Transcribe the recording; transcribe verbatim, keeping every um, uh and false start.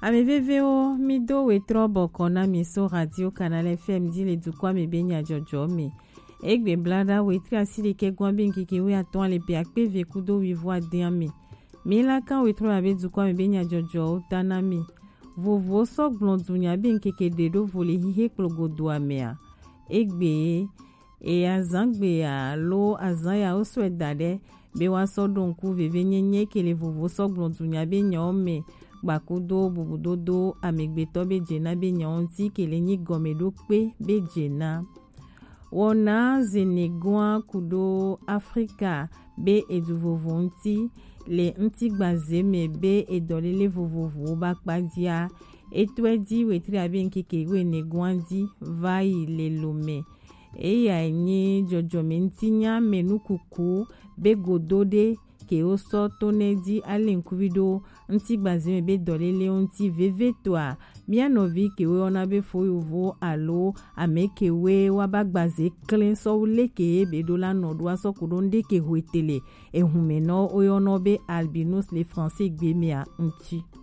Ame vevewo, mi do wetrɔ bɔkɔ na mi so Radio Canal F M di le dukɔa me be nyajɔjɔ me. Egbe blada wetri asiri ke gwan be nkeke we atɔn ale pe akpe ve kudo wivo aden ame. Mi la kan wetrɔ abe dukɔa me be nyajɔjɔwo ta na mi. Vovo sɔ gblɔ dunya be nkeke ɖe ɖo vo le hihe kplogodo amea. Egbe e azan gbe alo azan ya wo sɔe da ɖe be wa sɔ ɖo ŋku veve nyenye ke le vovo sɔ gblɔ dunya be nyawo me gbakudo bubudodo amegbetɔ be dze na be nyawo ŋuti ke le nyi gɔme ɖo kpe be dze na. Wɔna Zenegɔa kudo Afrika be edu vovo ŋuti le ŋutigbaze me be edɔlele vovovowo ba kpa dia. Etɔe di wetri abe ŋkeke wene gɔa di va yi le lome. Eya nyi jɔjɔme ŋutinya me nukuku be godo ɖe ke wo sɔ to ne di ale ŋkuvi ɖo ŋutigbaze me be dɔlelewo ŋuti vevitɔa. Mía nɔvi ke wo yɔna be fo yovo alo ame ke we wa ba gbaze klẽ sɔ wu leke ye be ɖo la nɔ ɖo asɔ ku ɖo ŋɖe ke hwetele ehume nɔ wo yɔnɔ be albinos le français gbe mea ŋuti.